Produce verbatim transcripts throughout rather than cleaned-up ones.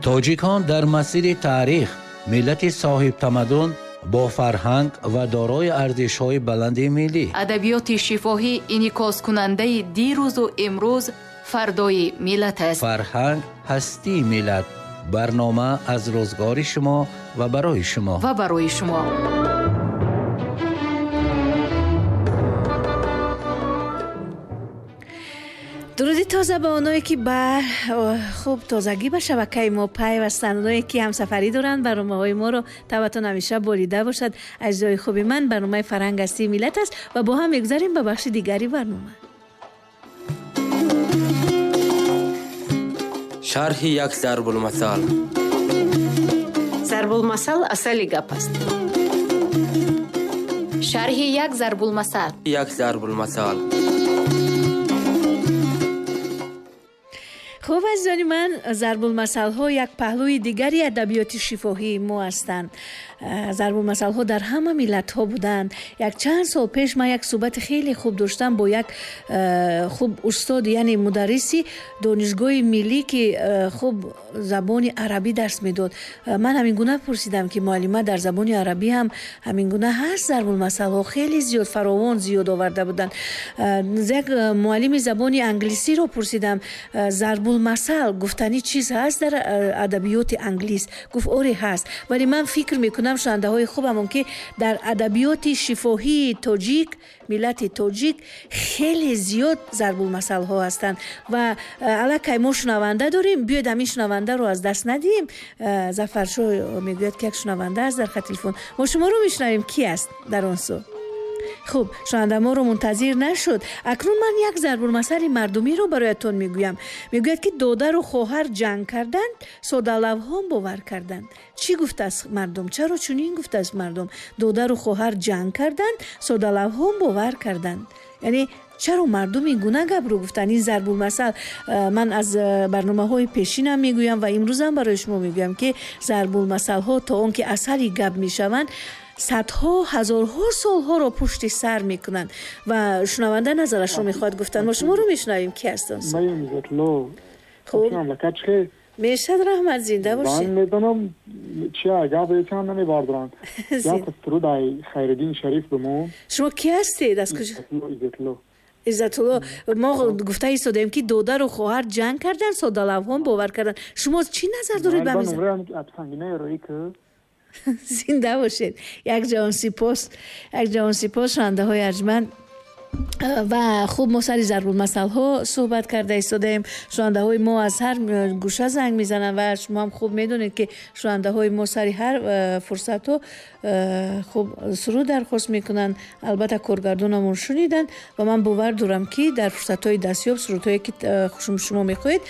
Тоҷикон дар масири таърих миллати соҳибтамаддун бо фарҳанг ва дорои арзишҳои баланди миллӣ. Адабиёти шифоҳӣ инъикоскунандаи дирӯзу имрӯз, фардои миллат аст. Фарҳанг ҳастии миллат. Барнома аз рӯзгори шумо ва барои шумо. Ва барои шумо. Дуруди тоза ба оное ки ба хуб тозагӣ ба шабакаи мо пайвастанд, оное ки ҳамсафарӣ доранд, барномаҳои моро табатон ҳамеша болида бошад. Аҷзои хуби ман, барномаи фарҳанг ҳастии миллат аст ва бо ҳам мегузарем ба бахши дигари барнома. Шарҳи як зарбулмасал. Зарбулмасал асали гап аст. Шарҳи як зарбулмасал. Як зарбулмасал. Хуб, азизони ман, зарбулмасалҳо як паҳлӯи дигари адабиёти шифоҳии мо ҳастанд. Зарбулмасалҳо дар ҳама миллатҳо буданд. Як чанд сол пеш ман як суҳбати хеле хуб доштам бо як хуб устод, яъне мударриси донишгоҳи миллӣ, ки хуб забони арабӣ дарс медод. Ман ҳамин гуна пурсидам, ки муаллима, дар забони арабӣ ҳам ҳамин гуна ҳаст зарбулмасалҳо? Хеле зиёд, фаровон зиёд оварда буданд. Як муаллими забони англисиро пурсидам, зарбулмасал гуфтани чиз ҳаст дар адабиёти англис? Гуфт, оре ҳаст, вале ман фикр мекунам, шунавандаҳои хубамон, ки дар адабиёти шифоҳии тоҷик, миллати тоҷик хеле зиёд зарбулмасалҳо ҳастанд ва аллакай мо шунаванда дорем. Биёед ҳамин шунавандаро аз даст надиҳем. Зафаршоҳ мегӯяд, ки як шунаванда аст дар хат телефон. Мо шуморо мешунавем, ки аст дар он сӯ? Хуб, шунаванда моро мунтазир нашуд. Акнун ман як зарбулмасали мардумиро бароятон мегӯям. Мегӯяд, ки додару хоҳар ҷанг карданд, содалавҳон бовар карданд. Чӣ гуфтааст мардум? Чаро чунин гуфтааст мардум? Додару хоҳар ҷанг карданд, содалавҳон бовар карданд. Яъне чаро мардум ин гуна гапро гуфтанд? Ин зарбулмасал ман аз барномаҳои пешинам мегӯям ва имрӯзам барои шумо мегӯям, ки зарбулмасалҳо то он ки асари гап мешаванд, садҳо, ҳазорҳо солҳоро пушти сар мекунанд. Ва шунаванда назарашро мехоҳад гуфтан. Мо шуморо мешунавем, ки ҳаст он? Хуб, мешад, раҳмат, зинда бошед. Ман медонам чи гап ечам намебардоранд. Як суруд ай Хайриддин Шариф бимон. Шумо ки ҳастед? Аз куҷо? Иззатулло. Иззатулло, мо гуфта истодаем, ки додару хоҳар ҷанг карданд, содалавҳон бовар карданд. Шумо чӣ назар доред ба миза? Зинда бошед. Як ҷаҳон сипос, як ҷаҳон сипос, шунавандаҳои арҷманд. Ва хуб, мо сари зарбулмасалҳо суҳбат карда истодаем. Шунавандаҳои мо аз ҳар гӯша занг мезананд ва шумо ҳам хуб медонед, ки шунавандаҳои мо сари ҳар фурсатҳо хуб суруд дархост мекунанд. Албатта коргардонамон шуниданд ва ман бовар дорам, ки дар фурсатҳои дастёб сурудҳое ки шумо мехоҳед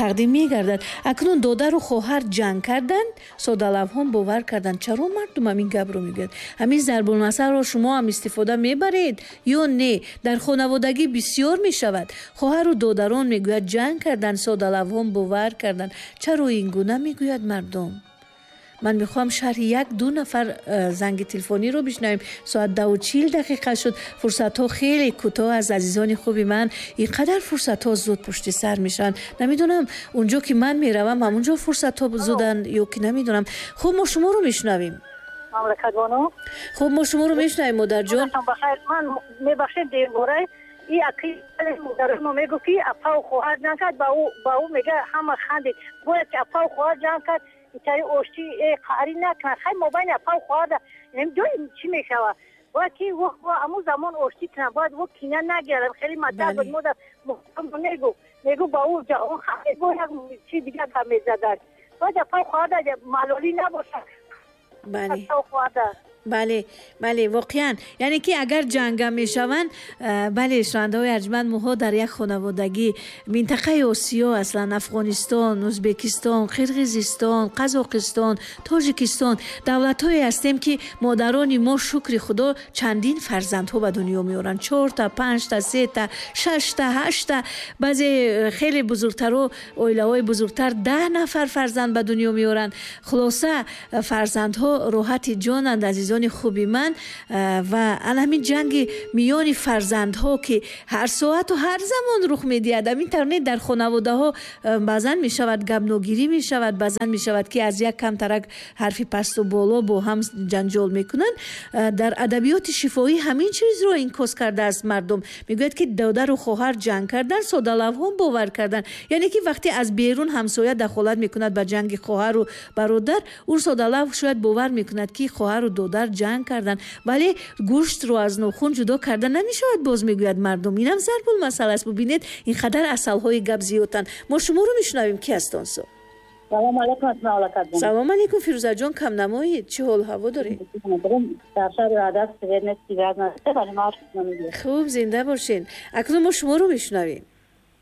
тақдим мегардад. Акнун додару хоҳар ҷанг карданд, содалавҳон бовар карданд. Чаро мардум ҳамин гапро мегӯяд? Ҳамин зарбулмасалро шумо ҳам истифода мебаред ё не? Дар хонаводагӣ бисёр мешавад. Хоҳару додарон мегӯяд ҷанг карданд, содалавҳон бовар карданд. Чаро ин гуна мегӯяд мардум? Ман мехоҳам шарҳи як ду нафар занги телефониро бишнавем. Соат даву чил дақиқа шуд. Фурсатҳо хеле кӯтоҳ аст, азизони хуби ман. Ин қадар фурсатҳо зуд пушти сар мешаванд. Намедонам, унҷо ки ман меравам, ҳамунҷо фурсатҳо зуданд ё ки намедонам. Хуб, мо шуморо мешунавем. Мамлакатбону. Хуб, мо шуморо мешунавем, модарҷон. Бахайр, ман мебахшед, дерборай и аки модари мо мегуфт, ки апау хоҳар ҷанг кард, ба ӯ ба ӯ мега ҳама хандид. Бояд ки апау хоҳар ҷанг кард, итари оштӣ қаҳрӣ накунад. Хай, мобайни апау хоҳар намедонем чӣ мешавад. Бояд ки аму замон оштӣ кунад, бояд ӯ кина нагирад. Хеле мадад буд, модар мегуфт, мегуфт ба ӯ ҷаҳон хандид, бо як чи дигар гап мезаданд. Бояд апау хоҳар малолӣ набошад. Бале, бале, бале, воқеан, яъне ки агар ҷанга мешаванд, бале, шунавандаҳои арҷманд, моҳо дар як хонаводагӣ, минтақаи Осиё, аслан Афғонистон, Ӯзбекистон, Қирғизистон, Қазоқистон, Тоҷикистон, давлатҳое ҳастем, ки модарони мо, шукри Худо, чандин фарзандҳо ба дунё меоранд. Чорта, панҷта, сета, шашта, ҳашта, баъзе хеле бузургтаро, оилаҳои бузургтар даҳ нафар фарзанд ба дунё меоранд. Хулоса, фарзандҳо роҳати ҷонанд, азизони Азизони хуби ман, ва ана ҳамин ҷанги миёни фарзандҳо, ки ҳар соату ҳар замон рух медиҳад, ҳамин тавр дар хонаводаҳо баъзан мешавад гапногирӣ мешавад, баъзан мешавад, ки аз як камтарак ҳарфи пасту боло бо ҳам ҷанҷол мекунанд. Дар адабиёти шифоҳӣ ҳамин чизро инъикос кардааст мардум. Мегӯяд, ки додару хоҳар ҷанг кардан, содалавҳон бовар кардан. Яъне ки вақте аз берун ҳамсоя дахолат мекунад ба ҷанги хоҳару бародар, ӯ содалав шояд бовар мекунад, ки хоҳару додар ҷанг кардан, вале гӯштро аз нохун ҷудо карда намешавад, боз мегӯяд мардум. Инам зарбулмасал аст. Бубинед, ин қадар асалҳои гап зиёдтанд. Мо шуморо мешунавем. Ки аст он су? Салом алейкум, мамлакат. Салом алейкум, Фирӯзаҷон, кам намоед, чӣ ҳол ҳаво доред? Дар шаҳри Ваҳдат свет нест, связь нест, вале мо хуб, зинда бошед. Акнун мо шуморо мешунавем.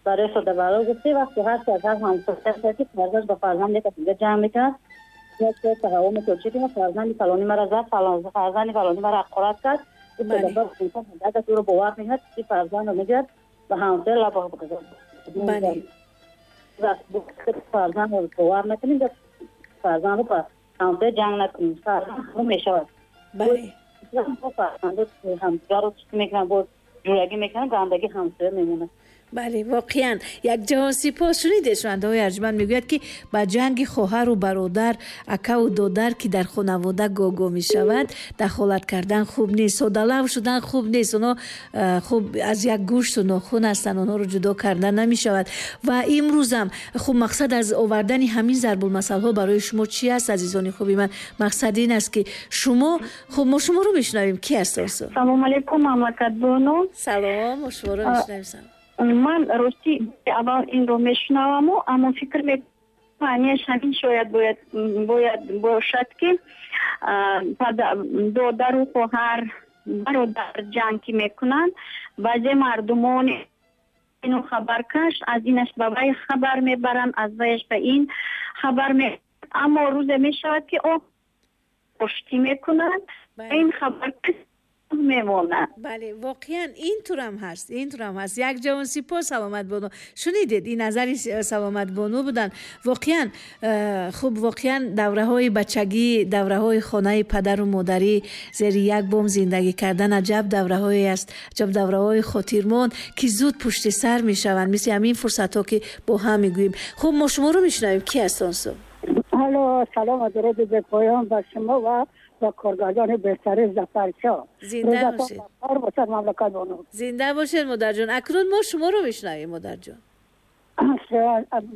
Барои содабало гуфтӣ, вақте ҳар ки аз ҳар ҳамсоя ки фарзанд ба фарзанд як дига ҷамъ мекунад, як таҳаввум мекунад, ки фарзанди фалонӣ маро зад, фарзанди фалонӣ маро ҳақорат кард, ӯро бовар мекунад, ки фарзандро мегирад ба ҳамсоя лаб бале фарзандро бовар накунем, фарзандро ба ҳамсоя ҷанг накунем, фарзанд ҳамон мешавад. Бале фарзандо ҳамсояро чӣ мекунанд, боз ҷӯрагӣ мекунанд, гандагӣ ҳамсоя мемонад. Бале, воқеан як ҷаҳон сипос. Шунидед, шунавандаҳои арҷманд, мегӯяд, ки ба ҷанги хоҳару бародар, акаву додар, ки дар хонавода гого мешавад, дахолат кардан хуб нест, содалав шудан хуб нест. Онҳо хуб аз як гӯшту нохун ҳастанд, онҳоро ҷудо кардан намешавад. Ва имрӯзам хуб мақсад аз овардани ҳамин зарбулмасалҳо барои шумо чи аст, азизони хуби ман? Мақсад ин аст, ки шумо хуб, мо шуморо мешунавем. Ки аст он су? Салом алейкум, мамлакатбону. Салом, мо шуморо мешунавем. Ман рости аввал инро мешунаваму, аммо фикр мекунам, маънияш ҳамин шояд бояд бояд бошад, ки додару хоҳар, бародар ҷанг ки мекунанд, баъзе мардумон ину хабаркаш аз инаш ба вай хабар мебаранд, аз ваяш ба ин хабар ме, аммо рӯзе мешавад, ки о оштӣ мекунанд, ин хабаркаш мемонад. Бале, воқеан ин турам ҳаст, ин турам ҳаст. Як ҷавон сипос, Саломатбону. Шунидед, ин назари Саломатбону буданд. Воқеан хуб, воқеан давраҳои бачагӣ, давраҳои хонаи падару модарӣ, зери як бом зиндагӣ кардан аҷаб давраҳое аст, аҷаб давраҳои хотирмон, ки зуд пушти сар мешаванд, мисли ҳамин фурсатҳо, ки бо ҳам мегӯем. Хуб, мо шуморо мешунавем. Ки аст он су? Алло, салом ва дуруди бепоён ба шумо ва ва коргардони беҳтарин Зафаршоҳ. Зинда бошед. Бошад, мамлакатбону. Зинда бошед, модарҷон. Акнун мо шуморо мешунавем, модарҷон.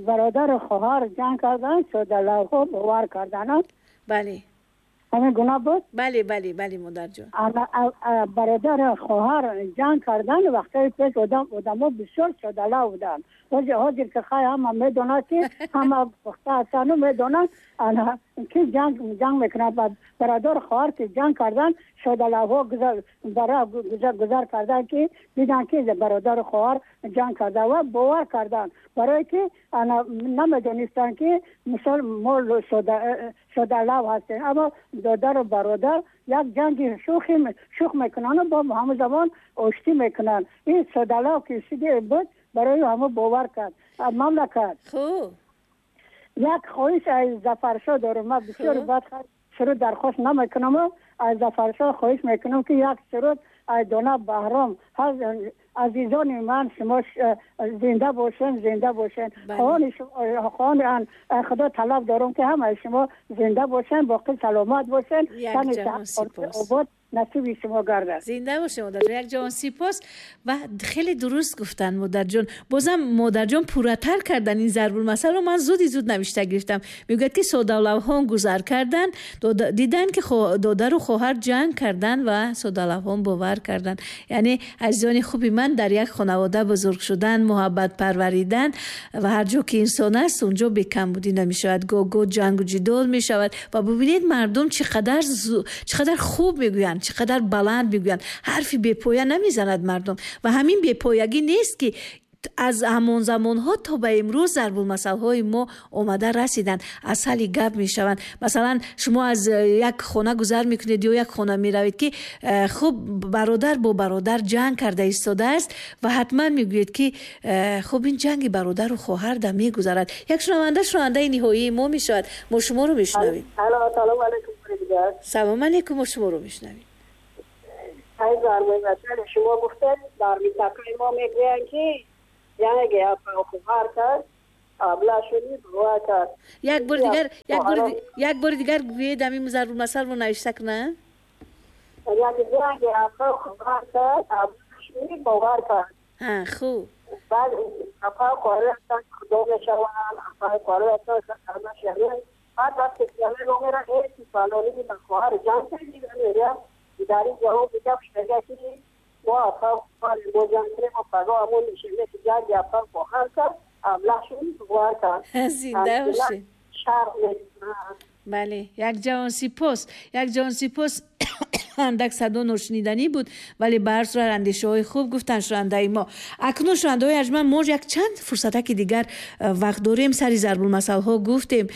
Бародару хоҳар ҷанг карданд, содалавҳо бовар карданд. Бале. ҳамин гуна буд? Бале, бале, бале, модарҷон. Бародару хоҳар ҷанг карданд, вақтҳои пеш одам одамо бисёр содалав буданд. Ҳозир ки хай ҳама медонад, ки ҳама пухта ҳастану медонанд, ки ҷанг ҷанг мекунанд. Бародару хоҳар ки ҷанг карданд, содалавҳо гузар карданд, ки диданд, ки бародару хоҳар ҷанг карда ва бовар карданд, барое ки намедонистанд, ки мисол мо содалав ҳастем. Аммо додару бародар як ҷанги шӯхи шӯх мекунанд, бо ҳамон замон оштӣ мекунанд. Ин содалав ки сиде буд, барои ҳамо бовар кард мамлакат. Хуб, як хоҳиш аз Зафаршоҳ дорам. Ман бисёр бад суруд дархост намекунам, аз Зафаршоҳ хоҳиш мекунам, ки як суруд аз дона Баҳром. Азизони ман, шумо зинда бошен, зинда бошен. Хоҳони худо талаб дорам, ки ҳамаи шумо зинда бошен, боқӣ саломат бошен, як ҷаҳон сипос. Обод насиби шумо гардад. Зинда бошед, модарҷон. Як ҷаҳон сипос. Ва хеле дуруст гуфтанд, модарҷон. Бозам модарҷон пурратар кардан ин зарбулмасалро ман зуди зуд навишта гирифтам. Мегӯяд, ки содалавҳон гузар карданд, диданд, ки додару хоҳар ҷанг карданд ва содалавҳон бовар карданд. Яъне азизони хуби ман, дар як хонавода бузург шудан, муҳаббат парваридан ва ҳар ҷо ки инсон аст, унҷо бекамбудӣ намешавад, гоҳ-гоҳ ҷангу ҷидол мешавад. Ва бубинед, мардум чӣ қадар чӣ қадар хуб мегӯянд, чӣ қадар баланд мегӯянд, ҳарфи бепоя намезанад мардум. Ва ҳамин бепоягӣ нест, ки аз ҳамон замонҳо то ба имрӯз зарбулмасалҳои мо омада расиданд, асали гап мешаванд. Масалан, шумо аз як хона гузар мекунед ё як хона меравед, ки хуб бародар бо бародар ҷанг карда истодааст ва ҳатман мегӯед, ки хуб ин ҷанги бародару хоҳар да мегузарад. Як шунаванда шунавандаи ниҳоии мо мешавад. Мо шуморо мешунавем. Салом алейкум. дигар. Салом алейкум, мо шуморо мешунавем. Ай зарбулмасал шумо гуфтед, дар минтақаи мо мегӯянд ки ҷанги апа хоҳар кард, абла шуди бовар кард. Як бори дигар, як бори як бори дигар гӯед, ҳамин зарбулмасалро навишта кунам. Як ҷанги апа хоҳар кард, абла шуди бовар кард. Ҳа, хуб. Баъд апа хоҳар ҳастанд, худо мешаванд, апа хоҳар ҳастанд, абла шаванд. Баъд вақте ки ҳама мераванд, эй фалонӣ ба хоҳар ҷанг кардӣ, мегӯяд дар ин ҷавоб мегӯяд, мегӯяд ки мо апа хоҳар мо ҷанг кардем, мо пагоҳ ҳамон мешавем ки ҷанги апа хоҳар кард, абла шуди бовар кард. Зинда бошед. Шарм мекунад. Бале, як ҷавон сипос, як ҷавон сипос. Андак садо ношуниданӣ буд, вале ба ҳар сурат андешаҳои хуб гуфтанд шунавандаи мо. Акнун шунавандаҳои арҷманд, мо як чанд фурсатаки дигар вақт дорем. Сари зарбулмасалҳо гуфтем.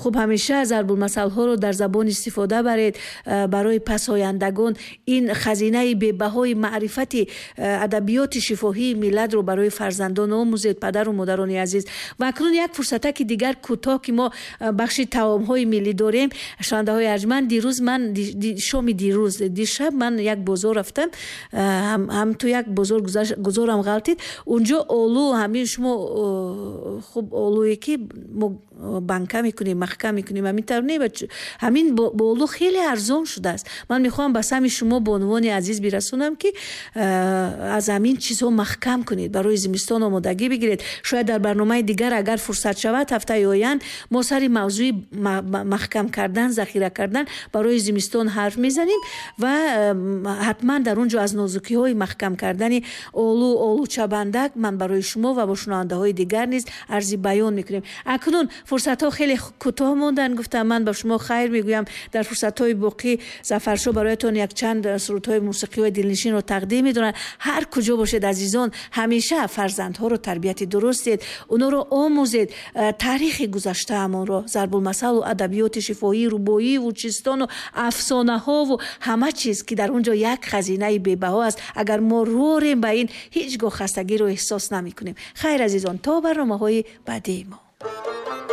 Хуб, ҳамеша зарбулмасалҳоро дар забон истифода баред барои пасояндагон. Ин хазинаи бебаҳои маърифати адабиёти шифоҳии миллатро барои фарзандон омӯзед, падару модарони азиз. Ва акнун як фурсатаки дигар кӯтоҳ, ки мо бахши таомҳои миллӣ дорем. Шунавандаҳои арҷманд, дирӯз ман шоми дирӯз дишаб ман як бозор рафтам, ҳам ту як бозор гузорам ғалтид. Унҷо олу, ҳамин шумо хуб олуе ки мо банка мекунем, маҳкам мекунем, ҳамин тавр не, ҳамин бо олу хеле арзон шудааст. Ман мехоҳам ба сами шумо бонувони азиз бирасонам, ки аз ҳамин чизҳо маҳкам кунед, барои зимистон омодагӣ бигиред. Шояд дар барномаи дигар агар фурсат шавад, ҳафтаи оянд мо сари мавзӯи маҳкам кардан, захира кардан барои зимистон ҳарф мезанем ва ҳатман дар он ҷо аз нозукиҳои маҳкам кардани олу, олучабандак ман барои шумо ва бо шунавандаҳои дигар низ арзи баён мекунем. Акнун фурсатҳо хеле кӯтоҳ монданд, гуфтам ман ба шумо хайр мегӯям. Дар фурсатҳои боқӣ Зафаршо бароятон якчанд сурудҳои мусиқиҳои дилнишинро тақдим медоранд. Ҳар куҷо бошед азизон, ҳамеша фарзандҳоро тарбияти дуруст диҳед, онҳоро омӯзед, таърихи гузаштаамонро, зарбулмасалу адабиёти шифоҳӣ, рубоиву чистону афсонаҳову ҳама чиз, ки дар он ҷо як хазинаи бебаҳо аст. Агар мо рӯ орем ба ин, ҳеҷ гоҳ хастагиро эҳсос намекунем. Хайр азизон, то барномаҳои баъдии мо.